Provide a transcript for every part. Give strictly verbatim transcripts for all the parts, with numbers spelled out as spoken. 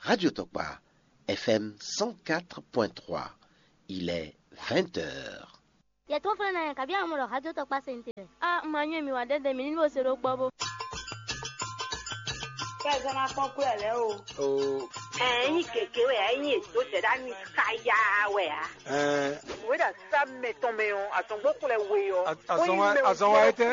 Radio Tokpa, F M cent quatre point trois. Il est vingt heures. Yɛ tó flɛ́ ná yɛ, kabi àwọn ọmọ ɖɔ xájó tɔkpá se ní te lɛ. A ma nyɔ́ mi wá ɖɛ́ɖɛ́ mi ní bó se ɖó gbɔ bó. Kɛ zɔn ma kpɔn kú ɛ lɛ o. O. Ɛ, yin keke wɛ, yin eto sɛ ɖa mi kaya wɛ a. Ɛ. Wɛ ɖa sa mɛ tɔn mɛ o, azɔn gbɔ kplɛ we o. Azɔn wa etɛ.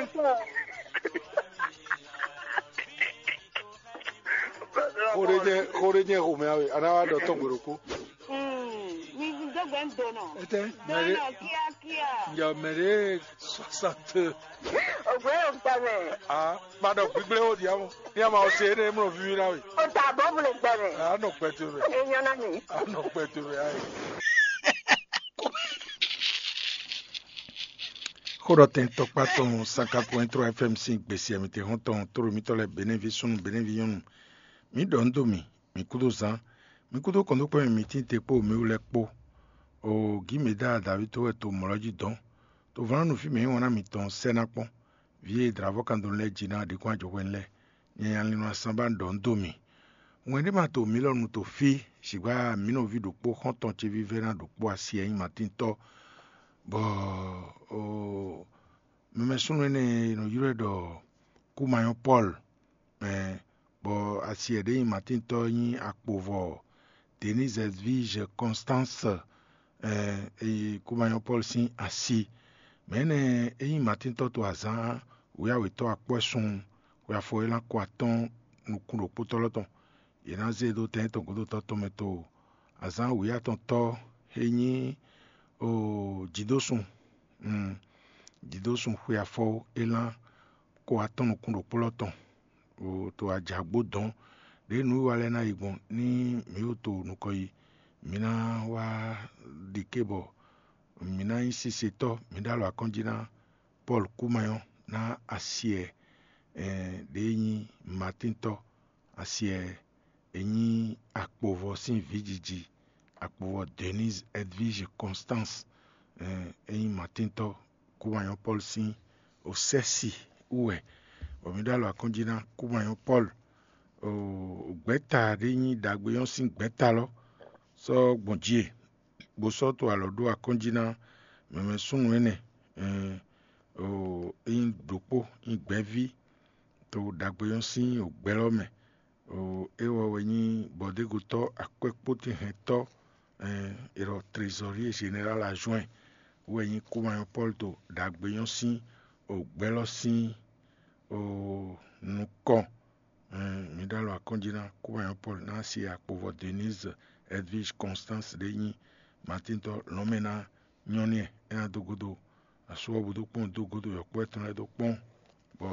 Xo ɖé jɛ, xo ɖé jɛ xomɛ awe, a ná wá ɖɔ tɔn gbe ɖokpó. Mi dó gbe ń donɔ. Etɛ, mɛ ɖé. Donɔ kíákíá. Njɛ mɛ ɖé soixante. Ògbé yóò gbà mɛ. Ah, ma ɖɔ gbígblé ó di amɔ. Ní a ma ɔ se énɛ́ mlɔ víví ná we. O ta bɔ bolo gbà mɛ. A nɔ kpɛ to mɛ. Enyɔ na mi. A nɔ kpɛ to mɛ ayi. Xó ɖɔ tɛn tɔkpá tɔn sanka point trois F M sín gbèsè mǐtɛn hɔn tɔn tóɖo mítɔn lɛ́ɛ Benɛví súnnu Benɛví nyɔ́nu. Mǐ ɖɔ nǔ dó mì, mǐ kúdó zán, mǐ kúdó kɔn dó kpɛ́ mì mǐ tín te kpó mǐ wú lɛ́ɛ kpó. O gǐ mǐ dá Davíd tó wɛ to mɔ̌ lɔ́ jí dɔ̌n. To vlán nú fí mǐ nyí wan ná mǐtɔn sɛ́ ná kpɔ́n. Vǐ e dlǎvɔ́kandɔnu lɛ́ɛ jí ná ɖi kɔn ajɔhwɛnu lɛ́ɛ, nyanya lin nɔ asán ba ɖɔ nǔ dó mì. Wɛn ɖé ma to mǐ lɔ nu to fí, sǐgbá mǐ nɔví ɖokpó xɔ́ntɔn ce vívɛ́ná ɖokpó asi e nyí Matíntɔ́, bɔ o mɛmɛ súnnu énɛ́ e è nɔ ylɔ́ ɛ ɖɔ Kúmayɔ́ Pɔ́lu, mɛ bɔ asi e ɖě nyí Matíntɔ́ nyí akpovɔ Denise Edwige Constance, ɛ, e Kúmayɔ́ Pɔ́lu sín asi. Mɛ̌ nɛ́ é nyí Matíntɔ́ to azǎn wěyáwětɔ́ akwɛ́sun xwe afɔ élán ko atɔ́ɔ́n nukún ɖokpótɔ́ lɔ́ tɔn. Yě ná zé e dó tɛn tɔn gǒdotɔ́ tɔn mɛ to azǎn wǐyá tɔn tɔ́ e nyí o jǐdósun, jǐdósun xwe afɔ élán ko atɔ́ɔ́n nukún ɖokpó lɔ́ tɔn. To ajǎgbó dɔ̌n ɖěe nǔwiwa lɛ́ɛ ná yi gbɔn ní mǐ yi to nukɔn yi. Mǐ ná wá ɖi ké bɔ mǐ ná nyí sisetɔ́, mǐ ɖó alɔ akɔ́njí ná Pɔ́lu Kúmayɔ́ ná asi e ɖě nyí Matíntɔ́, asi e nyí akpovɔ sín vǐjiji, akpovɔ Denise Edwige Constance, e nyí Matíntɔ́ Kúmayɔ́ Pɔ́lu sín osɛ́si wú wɛ, bɔ mǐ ɖó alɔ akɔ́njí ná Kúmayɔ́ Pɔ́lu. Gbɛ̌ta ɖé nyí ɖagbe nyɔ́ sín gbɛ̌ta lɔ sɔ́ gbɔn jí e, bó sɔ́ to alɔ ɖó akɔ́njí ná mɛmɛ súnnu énɛ́, é nyí ɖokpó, nyí gbɛ́ví to ɖagbe nyɔ́ sín ògbɛ́ lɔ mɛ. É wɛ wɛ nyí bɔ̌dégotɔ́ akwɛ́kpótɛnhɛntɔ́, è ɖɔ trésorier général adjoint wɛ nyí Kúmayɔ́ Pɔ́lu to ɖagbe nyɔ́ sín ògbɛ́ lɔ sín nukɔn. Mǐ ɖó alɔ akɔ́njí ná Kúmayɔ́ Pɔ́lu ná asi akpovɔ Denise Edwige Constance ɖé nyí Matíntɔ́ lɔ̌nmɛ ná nyɔ́ n'i, é ná dó gúdo asú ɔ́ bó dó kpɔ́n dó gúdo yɔ̌kpɔ́ tɔn lɛ́ɛ dó kpɔ́n, bɔ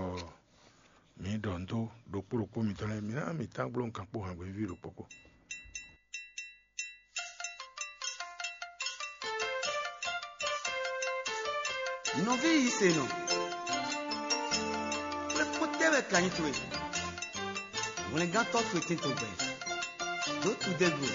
mǐ ɖɔ nǔ dó ɖokpó ɖokpó mitɔn lɛ́ɛ, mǐ ná mǐ tán gbló nǔkan kpó hǎngbɛ́ víví ɖokpó kpó. Nɔví yi se nɔ, xwlɛ́kpɔ́ tɛ́ wɛ ka nyí towe? Hwlɛngán tɔ́ towe tɛ́n tɔn gbɛ, dǒ tudɛ́ gbe.